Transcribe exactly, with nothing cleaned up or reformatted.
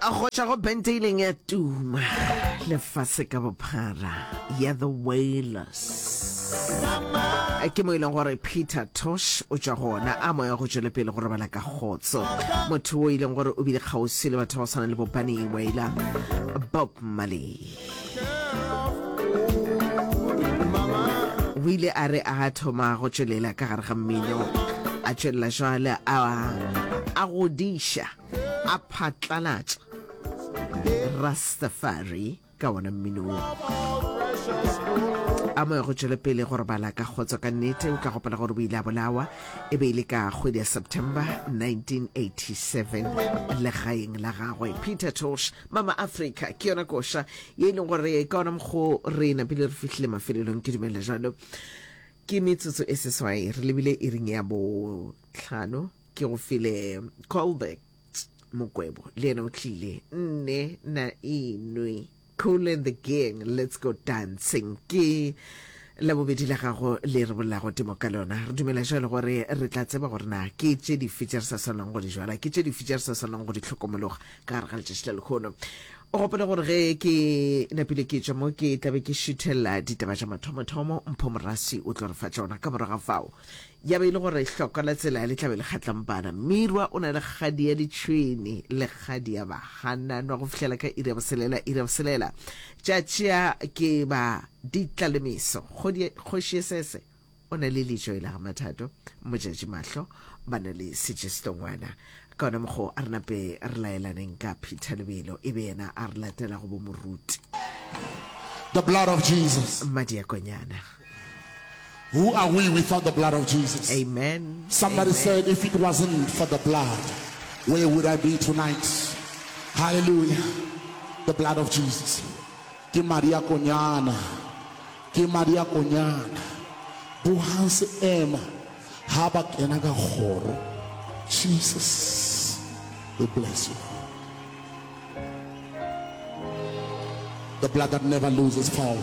Go tšwa go bente e ileng ya tuma lefase ka bophara ya The Wailers, ke mo e leng gore Peter Tosh o tšwa gona. A moya go tšwele pele go robala ka kgotso. Motho o e leng gore o bile kgauswi le batho ba go swana le bo Bunny Wailer, Bob Marley. O ile a re a thoma go tšwelela ka gare ga mmino, a tšwelela jwale a a godiša a phatlalatša Rastafari ka wona mmino wo. A moya go tšwele pele go robala ka kgotso ka nnete. O tla gopola gore o ile a bolawa e be e le ka kgwedi ya September nineteen eighty-seven legaeng la gagwe. Peter Tosh, Mama Africa ke yona koša ye e leng gore ka ona mokgo re napile re fihlile mafelelong. Ke dumela jalo. Ke metsotso e seswai re lebile iring ya bohlano. Ke go file callback Mokwebo le yena o tlile nne na enwe Cool and the Gang, Let's Go Dancing ke labobedi la gago le re bolelago temo ka lona. Re dumela jalo gore re tla tseba gore na ke tše dife tše re sa swanang go di jwala, ke tše dife tše re sa swanang go di hlokomologa ka gare ga letšatši la lehono. O gopole gore ge ke napile ke tšwa mo ke tlabe ke šuthella ditaba tša mathomothomo, Mpho Moraswi o tlo re fa tšona. Ka morago ga fao ya be e le gore hlokwa la tsela le tla be le kgatlampana. Mirwa o na le kgadi ya ditšhwene le kgadi ya bahananwa go fihlela ka iri ya boselela. Iri ya boselela tša tšea ke ba ditlalemiso. Kgoši Esese o na le lejo e la ga Mathato, Motšatši Mahlo ba na le Sejesitongwana. Ka ona mokgwa a re nape re laelaneng ka Peter Lebelo e be yena a re latela go bo moruti. The blood of Jesus. Madi a konyana. Who are we without the blood of Jesus? Amen. Somebody Amen. said, if it wasn't for the blood, where would I be tonight? Hallelujah. The blood of Jesus. Ke madi a konyana. Ke madi a konyana. Bohang se ema ha ba kena ka kgoro. Jesus, we bless you. The blood that never loses power.